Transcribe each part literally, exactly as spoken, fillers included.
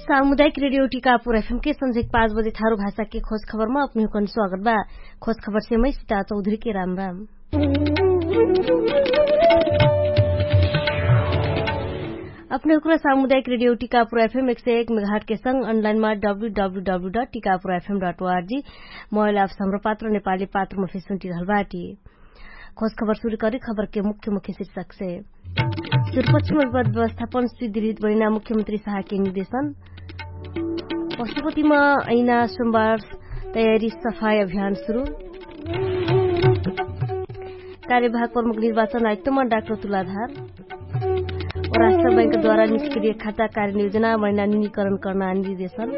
सामुदायिक रेडियो टिकापुर एफएम के संझेक पाँच बजे थारु भाषा के खोज खबरमा अपने हुकन स्वागत बा। खोज खबर से मै सिता चौधरी के राम राम। अपने हुकन सामुदायिक रेडियो टिकापुर एफएम एक सय एक मेघाट के संग अनलाइनमा W W W dot Tikapur FM dot ORG mobile apps Hamro Patro नेपाली पात्रमा फेसुन्टी रहल बाटी। खोज खबर सुरु करी खबर के मुख्य मुख्य शीर्षक से। सुरपक्ष में विपद व्यवस्थापन सुदृढ बनिना मुख्यमंत्री साहा के निर्देशन। पशुपति में ऐना सोमबार तयारी सफाई अभियान सुरु। कार्यभाग प्रमुख निर्वाचन आयुक्त में डाक्टर तुलाधार। राष्ट्र बैंक द्वारा निष्क्रिय खाता कार्य योजना महिना निनीकरण कर्ना निर्देशन।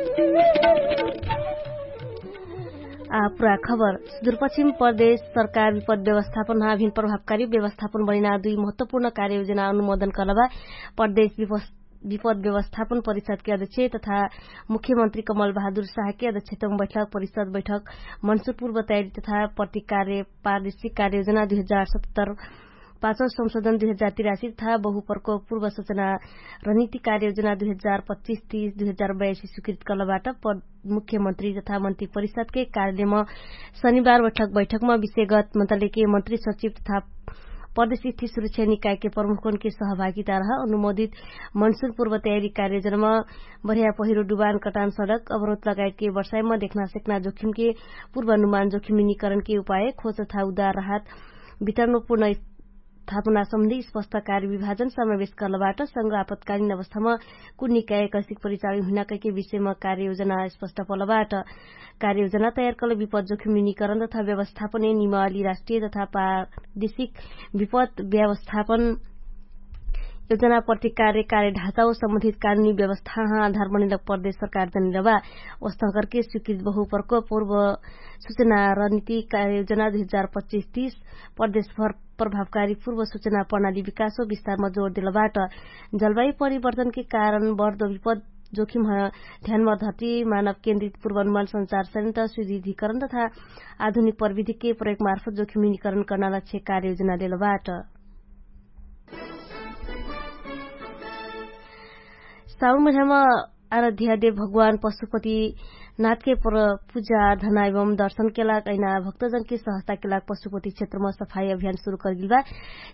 आ पुरा खबर। सुदूरपश्चिम प्रदेश सरकार विपद व्यवस्थापन हाभिन प्रभावकारी व्यवस्थापन बनिना दुई महत्वपूर्ण कार्ययोजना अनुमोदन कलबा। प्रदेश विपद व्यवस्थापन परिषद के अध्यक्ष तथा मुख्यमंत्री कमल बहादुर साह के अध्यक्षतम बैठक परिषद बैठक मनसुरपुर बताइली तथा प्रतिकार्य पारदेशिक कार्ययोजना दुई हजार सत्तर पाँचौ संशोधन दुई हजार तिरासी तथा बहुपरको पूर्व सूचना रणनीति कार्ययोजना दुई हजार पच्चिस तीस दुई हजार बयासी स्वीकृत कलबाट मुख्यमंत्री तथा मंत्री परिषद के कार्यालयमा शनिबार बैठक बैठकमा विषयगत मन्त्रालयके मंत्री सचिव तथा प्रदेश स्थित सुरक्षा निकायके प्रमुखनके सहभागिता रह अनुमोदित मनसुन पूर्व तयारी कार्ययोजनामा बढिया पहिरो डुबान कटान सडक अवरोध लगायतके वर्षाइमा देखना सेक्ना जोखिमके पूर्वानुमान जोखिम निनीकरणके उपाय खोज तथा उदार राहत वितरणपूर्ण स्थापनासम्बन्धी स्पष्ट कार्यविभाजन समावेश कर्लबाट संग आपतकालीन अवस्थामा कुन निकाय कैसिक परिचालन हुइना कैके विषयमा कार्ययोजना स्पष्ट पलबाट कार्ययोजना तयार कल विपद जोखिम निनीकरण तथा व्यवस्थापन निमाली राष्ट्रिय तथा प्रादेशिक विपद व्यवस्थापन योजना प्रति कार्य कार्य ढाँचा सम्बन्धित कानुनी व्यवस्था आधार बनिलक प्रदेश सरकार जनिलबा। ओस्तंकरके स्वीकृत बहु प्रकोप पूर्व सूचना रणनीति कार्ययोजना दुई हजार पच्चिस तीस प्रदेशभर प्रभावकारी पूर्व सूचना प्रणाली विकास हो विस्तारमा जोड देलबाट। जलवायु परिवर्तनके कारण बढ्दो विपद जोखिम ध्यानमा धर्ती मानव केन्द्रित पूर्वानुमान संचार सनित सुदृढीकरण तथा आधुनिक प्रविधिके प्रयोगमार्फत जोखिम निनीकरण कर्ना लक्ष्य कार्ययोजना देलबाट। साउन महिनामा आराध्यादेव भगवान पशुपति नाथके पूजा धनाइवम दर्शनके लाग ऐना भक्तजनके सहस्ताके लाग पशुपति क्षेत्रमा सफाई अभियान सुरु करगिलबा।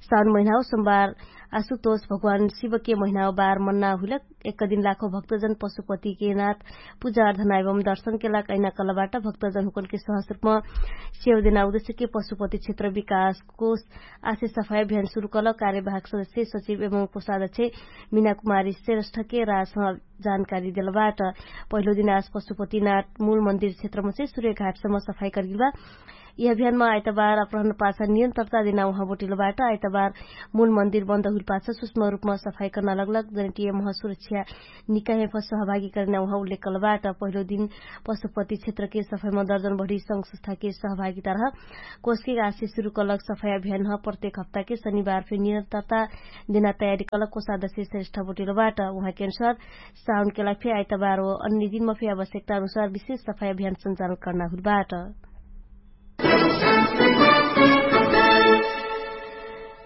साउन महिनाउ सोमबार आशुतोष भगवान शिवके महिनाउ बार मन्ना हुइलक एक दिन लाखो भक्तजन पशुपतिके नाथ पूजा धनाइवम दर्शनके लाग ऐना कलबाट भक्तजन हुकनके सहस्रुपमा सेव देना उद्देश्यके पशुपति क्षेत्र विकासको आसे सफाई अभियान सुरु कल कार्यवाहक सदस्य सचिव एवं कोषाध्यक्ष मिना कुमारी श्रेष्ठके राजसमा जानकारी देलबाट। पहिलो दिन आज पशुपतिनाथ मूल मन्दिर क्षेत्रमसे सुर्यघाटसम्म सफाई करगिलबा। यि अभियानमा आइतबार अपरहन पाछा नियन्त्रता देना उहाँ बोटिलबाट आइतबार मूल मन्दिर बन्द हुइल पाछा सुष्म रुपमा सफाई कर्ना लगलक जनिटिय महसुरक्षा निकायमा सहभागी करेना उहाँ उल्लेख कलबाट। पहिलो दिन पशुपति क्षेत्रके सफाइमा दर्जन बढी संस्थाके सहभागिता रह कोषके आशे सुरु कलक सफाइ अभियान ह प्रत्येक हप्ताके शनिबार फे निरन्तरता देना तयारी कलक कोषादश्य श्रेष्ठ बोटेलबाट। उहाँके अनुसार साउनके लाग फे आइतबार हो अन्य दिनमा फे आवश्यकता अनुसार विशेष सफाइ अभियान सञ्चालन कर्ना हुलबाट।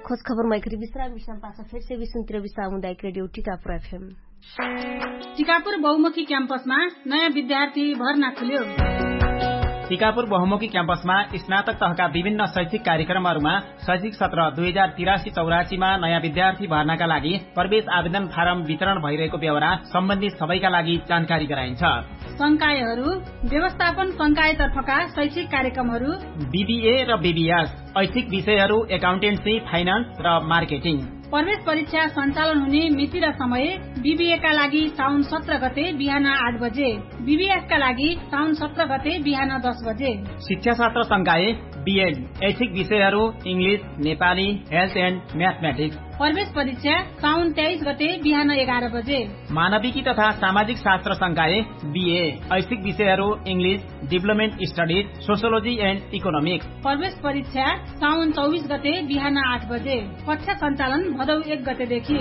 खोज खबर मैखरी विश्राम विश्राम पाछा फेर से विश्राम तिर विश्राम हुँदा एक रेडियो टिकापुर एफएम। टिकापुर बहुमुखी क्याम्पसमा नयाँ विद्यार्थी भर्ना खुल्यो। टिकापुर बहुमुखी क्याम्पसमा स्नातक तहका विभिन्न शैक्षिक कार्यक्रमहरूमा शैक्षिक सत्र दुई हजार तिरासी चौरासीमा नयाँ विद्यार्थी भर्नाका लागि प्रवेश आवेदन फारम वितरण भइरहेको व्यवहार सम्बन्धी सबैका लागि जानकारी गराइन्छ। संकायहरू व्यवस्थापन संकायतर्फका शैक्षिक कार्यक्रमहरू बिबिए र बिबिएस, ऐच्छिक विषयहरू एकाउन्टेन्सी, फाइनान्स र मार्केटिङ। प्रवेश परीक्षा सञ्चालन हुने मिति र समय बिबिएका लागि साउन सत्र गते बिहान आठ बजे, बिबिएसका लागि साउन सत्र गते बिहान दस बजे। शिक्षा शास्त्र संकाय बिएड, ऐच्छिक विषयहरू इङ्ग्लिस, नेपाली, हेल्थ एन्ड म्याथमेटिक्स। प्रवेश परीक्षा साउन तेइस गते बिहान एघार बजे। मानविकी तथा सामाजिक शास्त्र संकाय बिए, ऐच्छिक विषयहरू इङ्ग्लिस, डिभलपमेन्ट स्टडिज, सोसियोलोजी एन्ड इकोनोमिक्स। प्रवेश परीक्षा साउन चौबिस गते बिहान आठ बजे। कक्षा सञ्चालन भदौ एक गतेदेखि।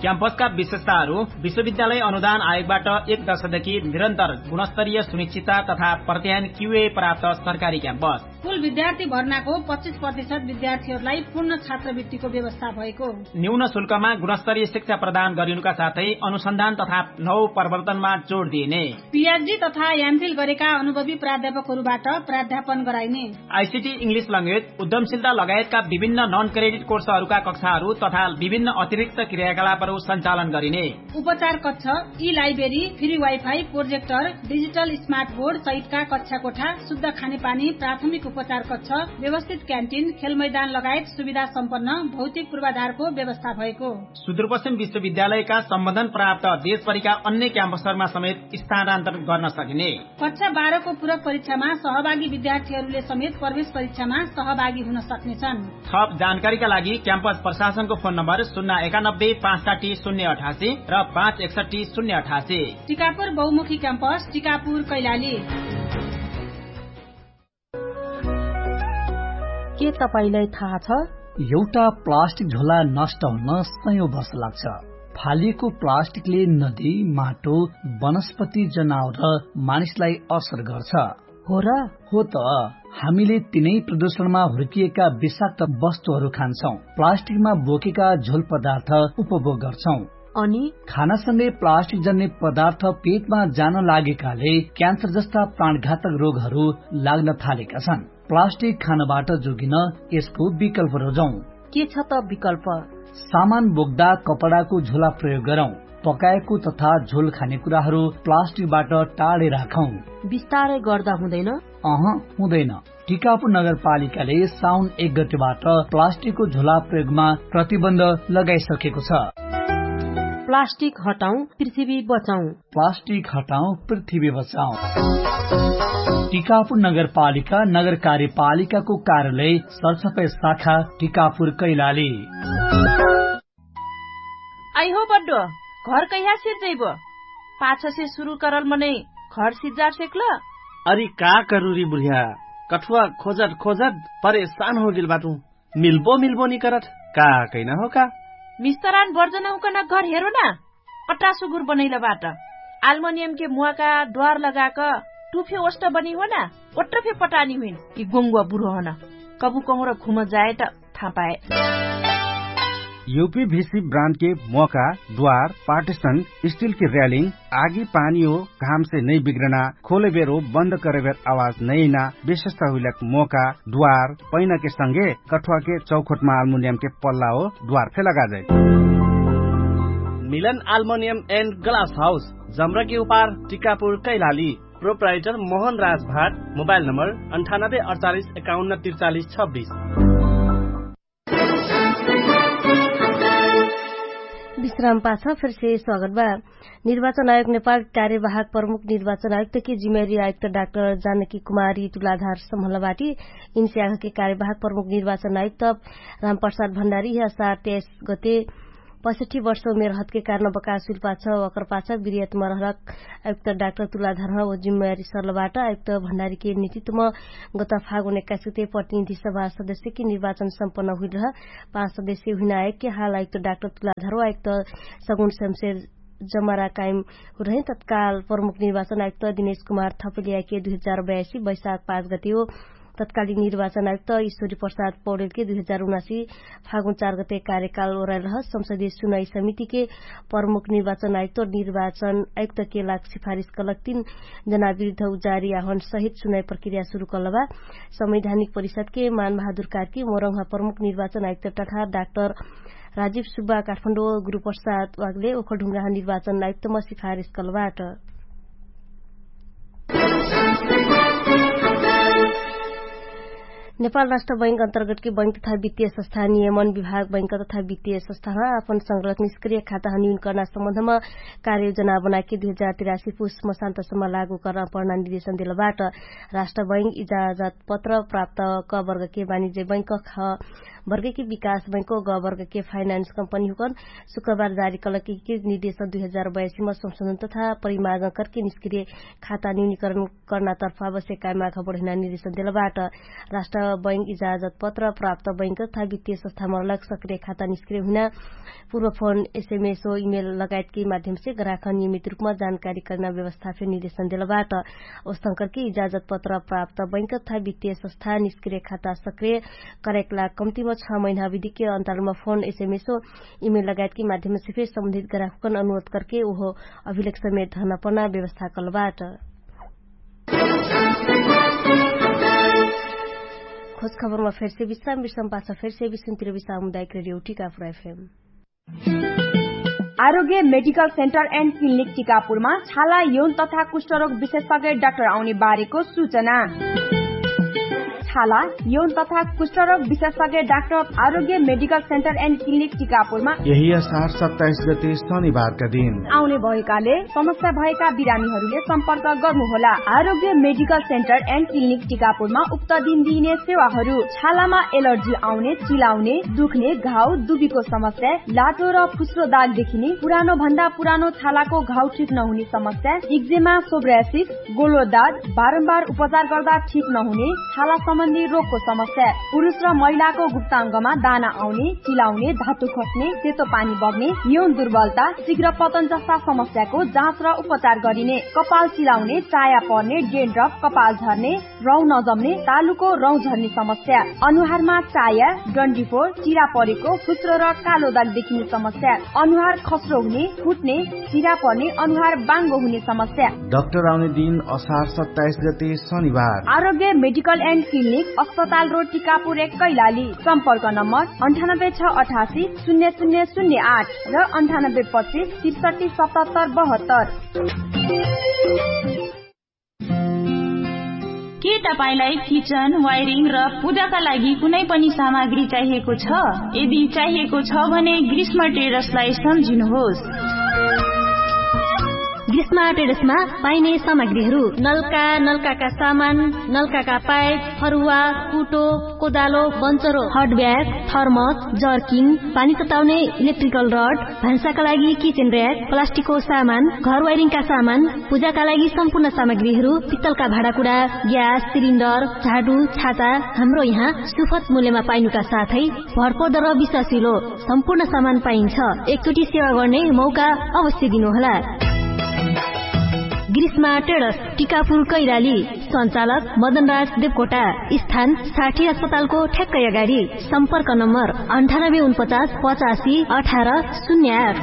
क्याम्पसका विशेषताहरू विश्वविद्यालय अनुदान आयोगबाट एक दशकदेखि निरन्तर गुणस्तरीय सुनिश्चितता तथा प्रत्यायन क्युए प्राप्त सरकारी क्याम्पस। कुल विद्यार्थी भर्नाको पच्चिस प्रतिशत विद्यार्थीहरूलाई पूर्ण छात्रवृत्तिको व्यवस्था भएको। न्यून शुल्कमा गुणस्तरीय शिक्षा प्रदान गरिनुका साथै अनुसन्धान तथा नौ प्रवर्तनमा जोड दिइने। पिएचडी तथा एमफिल गरेका अनुभवी प्राध्यापकहरूबाट प्राध्यापन गराइने। आइसिटी, इङ्ग्लिस ल्याङ्ग्वेज, उद्यमशीलता लगायतका विभिन्न नन क्रेडिट कोर्सहरूका कक्षाहरू तथा विभिन्न अतिरिक्त क्रियाकलापहरू सञ्चालन गरिने। उपचार कक्ष, ई library, free wifi, projector, digital smart board सहितका कक्षा कोठा, शुद्ध खानेपानी, प्राथमिक उपचार कक्ष, व्यवस्थित क्यान्टिन, खेल मैदान लगायत सुविधा सम्पन्न भौतिक पूर्वाधारको व्यवस्था भएको। सुदूरपश्चिम विश्वविद्यालयका सम्बन्धन प्राप्त देशभरिका अन्य क्याम्पसहरूमा समेत स्थानान्तरण गर्न सकिने। कक्षा बाह्रको पूरक परीक्षामा सहभागी विद्यार्थीहरूले समेत प्रवेश परीक्षामा सहभागी हुन सक्नेछन्। थप जानकारीका लागि क्याम्पस प्रशासनको फोन नम्बर शून्य एकानब्बे पाँच साठी शून्य अठासी र पाँच एकसट्ठी शून्य अठासी। टिकापुर बहुमुखी क्याम्पस, टिकापुर कैलाली। के तपाईंलाई थाहा छ? एउटा प्लास्टिक झोला नष्ट हुन सयौं वर्ष लाग्छ। फालिएको प्लास्टिकले नदी, माटो, वनस्पति, जनावर र मानिसलाई असर गर्छ। हो र? हो त। हामीले तिनै प्रदूषणमा हुर्किएका विषाक्त वस्तुहरू खान्छौं। प्लास्टिकमा बोकेका झोल पदार्थ उपभोग गर्छौं। अनि? खानासँगै प्लास्टिक जन्ने पदार्थ पेटमा जान लागेकाले क्यान्सर जस्ता प्राणघातक रोगहरू लाग्न थालेका छन्। प्लास्टिक खानबाट जोगिन यसको विकल्प रोजौं। के छ त विकल्प? सामान बोक्दा कपडाको झोला प्रयोग गरौं। पकाएको तथा झोल खाने कुराहरू प्लास्टिकबाट टाढे राखौं। बिस्तारै गर्दा हुँदैन? अह, हुँदैन। टिकापुर नगरपालिकाले साउन एक गतेबाट प्लास्टिकको झोला प्रयोगमा प्रतिबन्ध लगाइसकेको छ। प्लास्टिक हटाउँ, पृथ्वी बचाउँ। प्लास्टिक हटाउँ, पृथ्वी बचाउँ। टिकापुर नगरपालिका नगर कार्यपालिकाको कार्यालय सरसफाइ शाखा टिकापुर कैलाली। आइ हो बड्डो, घर कहिया सिर्जैबो? पाछसे सुरु करल मनै घर सिर्जार सेक्ल? अरि का करुरी बुढिया, कठुवा खोजत खोजत परेशान होगेल बाटु। मिल्बो मिल्बो निकरत, का कैना हो का? मिस्तरान बर्जन हुकन घर हेरो ना। अट्टा सुगुर बनैल बाट। आल्मोनियमके मुवाका द्वार लगाक टुफे ओष्ट बनी हो ना? ओट्ट फे पटानी हुइन। कि गोङ्गुवा बुढो हन। कबु कहुँर घुम जाए त थाहा पाए। युपी भिसी ब्रान्डके मोका, द्वार, पार्टिसन, स्टिलके र्यालिङ, आगी पानी हो, घामसे नै बिग्रना, खोले बेर हो, बन्द करे बेर आवाज नै ना, विशेषता हुइलक मोका, द्वार, पैनाके संगे कठुवाके चौखोटमा आल्मुनियमके पल्ला हो, द्वार फे लगाजै। मिलन आल्मुनियम एन्ड ग्लास हाउस, जमराके उपार, टिकापुर, कैलाली। प्रोप्राइटर मोहन राज भाट, मोबाइल नम्बर अन्ठानब्बे अडचालिस एकाउन्न त्रिचालिस छब्बिस। विश्राम पाछ फेरसे स्वागत बा। निर्वाचन आयोग नेपाल कार्यवाहक प्रमुख निर्वाचन आयुक्त के जिम्मेवारी आयुक्त डाक्टर जानकी कुमारी तुलाधार सम्हलबाटी इन्स्याघके कार्यवाहक प्रमुख निर्वाचन आयुक्त रामप्रसाद भण्डारी यह सार तेइस गते पैसठी वर्ष उमेर हतके कारण बकास हुइल पाछ ओकर पाछ बिरियतमा रहलक आयुक्त डाक्टर तुलाधार ह ओ जिम्मेवारी सरलबाट आयुक्त भण्डारीके नेतृत्वमा गत फागुन एक्काइस गते प्रतिनिधि सभा सदस्यके निर्वाचन सम्पन्न हुइल रह पाँच सदस्य हुइना आयोगके हाल आयुक्त डाक्टर तुलाधार आयुक्त सगुन शमशेर जमरा कायम हुरहे तत्काल प्रमुख निर्वाचन आयुक्त दिनेश कुमार थपलियाके दुई हजार बयासी वैशाख पाँच गते हो। तत्कालिक निर्वाचन आयुक्त ईश्वरी प्रसाद पौडेलके दुई हजार उनासी फागुन चार गते कार्यकाल ओराइल रह संसदीय सुनाई समितिके प्रमुख निर्वाचन आयुक्त निर्वाचन आयुक्तके लाग सिफारिस कलक तीन जना विरुद्ध उजारी आह्वान सहित सुनाई प्रक्रिया सुरु कलबा। संवैधानिक परिषदके मानबहादुर कार्की मोरङ्हा प्रमुख निर्वाचन आयुक्त तथा डाक्टर राजीव सुब्बा काठमाडौँ गुरुप्रसाद वागले ओखलढुङ्गा निर्वाचन आयुक्तमा सिफारिस कलबाट। नेपाल राष्ट्र बैंक अन्तर्गतके बैंक तथा वित्तीय संस्था नियमन विभाग बैंक तथा वित्तीय संस्थामा आपन संग्रह निष्क्रिय खाता हनियुन कर्ना सम्बन्धमा कार्ययोजना बनाके दुई हजार तिरासी पुस मसान्तसम्म लागू कर्ना पर्ना निर्देशन देलबाट। राष्ट्र बैंक इजाजत पत्र प्राप्त क वर्गके वाणिज्य बैंक ख वर्गके विकास बैंको ग वर्गके फाइनान्स कम्पनी हुकन शुक्रबार जारी कलक कि निर्देशन दुई हजार बयासीमा संशोधन तथा परिमार्गन करके निष्क्रिय खाता न्यूनीकरण कर्ना तर्फ आवश्यक कायमा घबडहिना निर्देशन देलबाट। राष्ट्र बैंक इजाजत पत्र प्राप्त बैंक तथा वित्तीय संस्थामा अलग सक्रिय खाता निष्क्रिय हुइना पूर्व फोन एसएमएसओ इमेल लगायतकै माध्यमसे ग्राहक नियमित रूपमा जानकारी करना व्यवस्था फेर निर्देशन देलबाट। औसंकरके इजाजत पत्र प्राप्त बैंक तथा वित्तीय संस्था निष्क्रिय खाता सक्रिय करेकला कम्तिमा छ महिना अविधिके अन्तरालमा फोन एसएमएसओ इमेल लगायतकै माध्यमसे फेर सम्बन्धित ग्राहकन अनुरोध करके उहो अभिलेख समेत धर्ना पर्ना व्यवस्था कलबाट। खोज खबरमा फेरसे विश्राम विश्राम पाछ फेरसे विश्राम तिर विश्राम उदायक रेडियो टिकापुर एफएम। आरोग्य मेडिकल सेन्टर एन्ड क्लिनिक टिकापुरमा छाला यौन तथा कुष्ठरोग विशेषज्ञ डाक्टर आउने बारेको सूचना। छाला यौन तथा कुष्ठरोग विशेषज्ञ डाक्टर आरोग्य मेडिकल सेन्टर एन्ड क्लिनिक टिकापुरमा यही असार सत्ताइस गते शनिबारका दिन आउने भएकाले समस्या भएका बिरामीहरूले सम्पर्क गर्नुहोला। आरोग्य मेडिकल सेन्टर एन्ड क्लिनिक टिकापुरमा उक्त दिन दिइने सेवाहरू छालामा एलर्जी आउने, चिलाउने, दुख्ने, घाउ दुबीको समस्या, लाटो र फुस्रो दाग देखिने, पुरानो भन्दा पुरानो छालाको घाउ ठिक नहुने समस्या, इक्जेमा, सोब्रासिस, गोलो दाग, बारम्बार उपचार गर्दा ठिक नहुने छाला सम्बन्धी रोगको समस्या, पुरुष र महिलाको गुप्ताङ्गमा दाना आउने, चिलाउने, धातु खस्ने, सेतो पानी बग्ने, यौन दुर्बलता, शीघ्र पतन जस्ता समस्याको जाँच र उपचार गरिने, कपाल चिलाउने, चाया पर्ने, डेन्ड्रफ, कपाल झर्ने, रौँ नजम्ने, तालुको रौँ झर्ने समस्या, अनुहारमा चाया, डन्डीफोर, चिरा परेको, फुस्रो र कालो दाग देखिने समस्या, अनुहार खस्रो हुने, फुट्ने, चिरा पर्ने, अनुहार बाङ्गो हुने समस्या। डाक्टर आउने दिन असार सत्ताइस गते शनिबार। आरोग्य मेडिकल एन्ड क्लिनिक, अस्पताल रोड, टिकापुर एक, कैलाली। सम्पर्क नम्बर अन्ठानब्बे छ अठासी शून्य शून्य शून्य आठ र अन्ठानब्बे पच्चिस त्रिसठी सतहत्तर बहत्तर। के तपाईंलाई किचन, वायरिङ र पूजाका लागि कुनै पनि सामग्री चाहिएको छ? यदि चाहिएको छ भने ग्रीष्म ट्रेडर्सलाई सम्झिनुहोस्। ग्रीष्म ट्रेडर्समा पाइने सामग्रीहरू नलका, नलकाका सामान, नलकाका पाइप, फरुवा, कुटो, कोदालो, बन्चरो, हट ब्याग, थर्मस, जर्किङ, पानी तताउने इलेक्ट्रिकल रड, भान्साका लागि किचन र्‍याक, प्लास्टिकको सामान, घर वायरिङका सामान, पूजाका लागि सम्पूर्ण सामग्रीहरू, पित्तलका भाँडाकुँडा, ग्यास सिलिन्डर, झाडु, छाता हाम्रो यहाँ सुपथ मूल्यमा पाइनुका साथै भरपर्दो र विश्वासिलो सम्पूर्ण सामान पाइन्छ। एकचोटि सेवा गर्ने मौका अवश्य दिनुहोला। ग्रीष्मा ट्रेडर्स, टिकापुर कैलाली। सञ्चालक मदनराज देवकोटा। स्थान साठी अस्पतालको ठ्याक्कै अगाडि। सम्पर्क नम्बर अन्ठानब्बे उनपचास पचासी अठार शून्य आठ।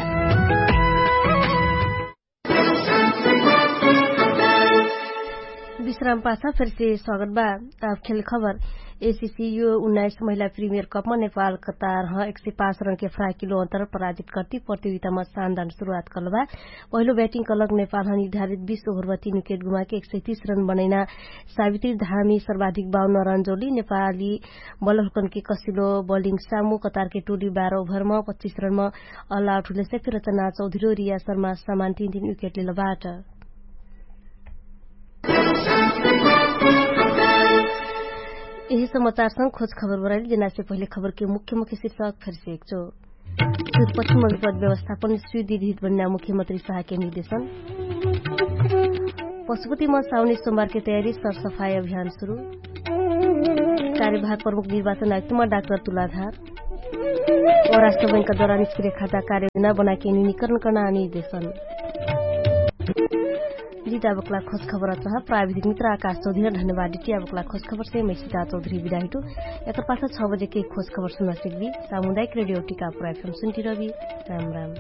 विश्राम पाछा फेरसे स्वागत बा। आब खेल खबर। एसिसियो उन्नाइस महिला प्रिमियर कपमा नेपाल कतार ह एक सय पाँच रनके फ्राकिलो अन्तर पराजित कर्ति प्रतियोगितामा सानदान सुरुवात कलबा। पहिलो ब्याटिङ कलक नेपालह निर्धारित बीस ओभरमा तीन विकेट गुमाके एक सय तीस रन बनैना सावित्री धामी सर्वाधिक बाउन्न रन जोडी नेपाली बलहुकनके कसिलो बलिङ सामु कतारके टोली बाह्र ओभरमा पच्चिस रनमा अल आउट हुलेसे फिर रचना चौधरी रिया शर्मा समान तीन तीन विकेट लेलबाट। यही समाचारसँग खोज खबर बराइली जेनासे पहिले खबरके मुख्य मुख्य शीर्षक फेरसे एकचो। सुपश्चिम विपद व्यवस्थापन सुविधित बन्ना मुख्यमन्त्री साहके निर्देशन। पशुपतिमा साउने सोमबारके तयारी सरसफाई अभियान सुरु। कार्यभाग प्रमुख निर्वाचन आयुक्तमा डाक्टर तुलाधार। व राष्ट्रबैंकका द्वारा निष्क्रिय खाता कार्यविना बनाके निनिकरण कर्ना निर्देशन। जिता बक्ला खोज खबर अचहा प्राविधिक मित्र आकाश चौधरी धन्यवाद डिटिया बक्ला खोज खबर से मै सिता चौधरी बिदाहिटु। एकर पाछा छ बजे के खोज खबर सुना सिकबी। सामुदायिक रेडियो टिका पुरा एफएम सुन्टिरबी। राम राम।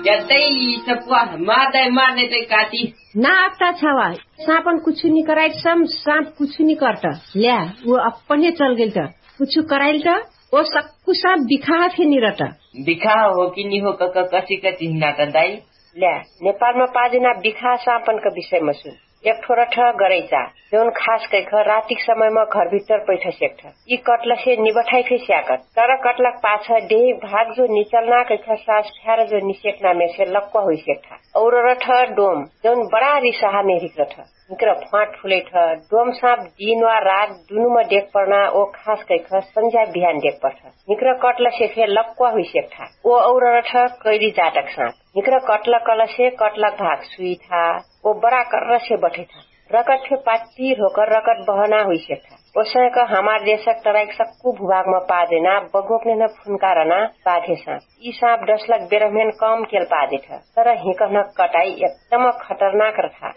यतै सपुवा मार दै मार नै तै काटी। ना अक्ता छावा। सापन कुछु नि कराइट सम साप कुछु नि कर्त। ल्या उ अपने चल गेल त। कुछु कराइल त। ओ सक्कु साप बिखाह फेनि रत। बिखाह हो कि नि हो कक कसिक चिन्हना त दाइ। ल्या नेपालमा पाजिना बिखाह सापनक विषयमा सुन। एक ठो रठ गरैचा जौन खास कैख रातिक समयमा घरभित्तर पैठ सेक्ठ। यि कटलसे निबठाइ फे स्याकत। तर कटलक पाछ देहिक भाग जो निचल्ना कैख सास फ्यार जो निसेक्ना मेसे लक्क हुइसेक्ठ। और रठ डोम जौन बडा रिसाहा मेहरिक रठ। निकर फ्वाट फुलैठ। डोम साप दिन वा रात दुनुम देख पर्ना ओ खास कैख सन्झ्या बिहान देख पर्ठ। निकर कटलसे फे लक्क हुइसेक्ठ। ओ और रठ कैली जातक साप। निकर कटलक कलसे कटलक भाग सुइठा। ओ बडा कर्रसे बठैठा। रकट फे पाट्टी होकर रकट बहना हुइसेठा। ओसैक हमार देशक तराइक सक्कु भुभागमा पादेना बगोक नेहना फुनकारना बाधेसा। यि साप डसलक बेरहमेन कम केल पादेठ। तर हिकहना कटाई एकदम खतरनाक रथा।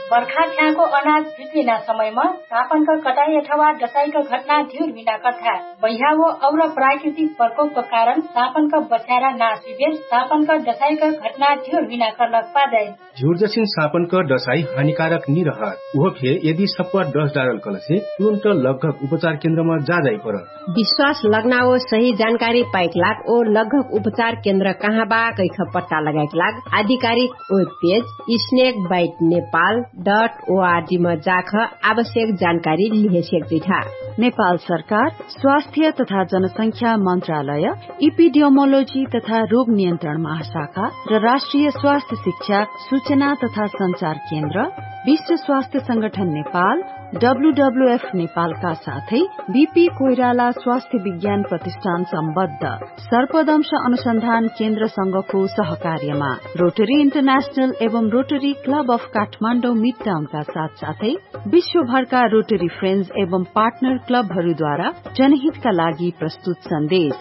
बर्खा छ्याको अनाज भिट्विना समयमा सापनक कटाई अथवा डसाइक घटना धिउर हुइना कर्था। बह्यावो और प्राकृतिक प्रकोपक कारण सापनक बच्यारा नासिबेर सापनक डसाइक घटना धिउर हुइना कर्लक पादै। झिउर्जसिन सापनक डसाइ हानिकारक निरहत उहो फे यदि सप्वा डस डारल कलसे तुरुन्त लग्घक उपचार केन्द्रमा जाजाइ परत। विश्वास लग्नाओ सही जानकारी पाइक लाग ओ लग्घक उपचार केन्द्र कहाँ बा कैख पट्टा लगाइक लाग आधिकारिक web page snake bite Nepal dot ORG म जाख आवश्यक जानकारी लिहेसेक जुइठा। नेपाल सरकार स्वास्थ्य तथा जनसंख्या मन्त्रालय, इपिडियोमोलोजी तथा रोग नियन्त्रण महाशाखा र राष्ट्रिय स्वास्थ्य शिक्षा सूचना तथा सञ्चार केन्द्र, विश्व स्वास्थ्य संगठन नेपाल, डब्ल्युडब्ल्युएफ नेपालका साथै बिपी कोइराला स्वास्थ्य विज्ञान प्रतिष्ठान सम्बद्ध सर्पदंश अनुसन्धान केन्द्रसँगको सहकार्यमा रोटरी इन्टरनेशनल एवं रोटरी क्लब अफ काठमाडौँ मिडटाउनका साथसाथै विश्वभरका रोटरी फ्रेन्ड्स एवं पार्टनर क्लबहरूद्वारा जनहितका लागि प्रस्तुत सन्देश।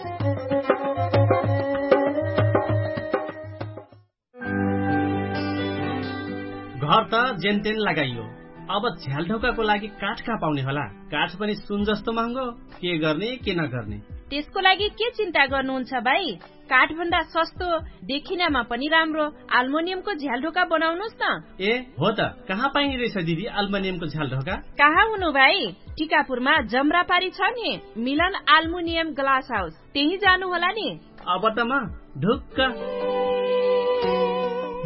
घर त जेनतेन लगाइयो, अब झ्यालढोकाको लागि काठ कहाँ पाउने होला? काठ पनि सुन जस्तो महँगो। के गर्ने के नगर्ने? त्यसको लागि के चिन्ता गर्नुहुन्छ भाइ? काठभन्दा सस्तो, देखिनामा पनि राम्रो आल्मोनियमको झ्यालढोका बनाउनुस् न। ए हो त, कहाँ पाइने रहेछ दिदी आल्मोनियमको झ्यालढोका? कहाँ हुनु भाइ? टिकापुरमा जमरापारी छ नि, मिलन आल्मुनियम ग्लास हाउस, त्यही जानु होला नि। अब त म ढुक्क।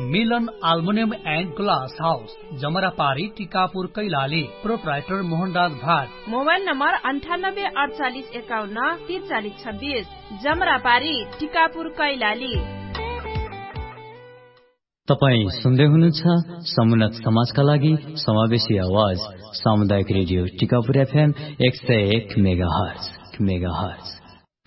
मिलन आल्मुनियम एन्ड ग्लास हाउस, जमरापारी, टिकापुर, कैलाली। प्रोप्राइटर मोहनराज भाट। मोबाइल नम्बर अन्ठानब्बे अडचालिस एकाउन्न तिरचालिस छब्बिस। जमरापारी, टिकापुर, कैलाली। तपाईँ सुन्दै हुनुहुन्छ समुन्नत समाजका लागि समावेशी आवाज, सामुदायिक रेडियो टिकापुर एफएम एक सय एक मेगाहर्ज। मेगाहर्ज।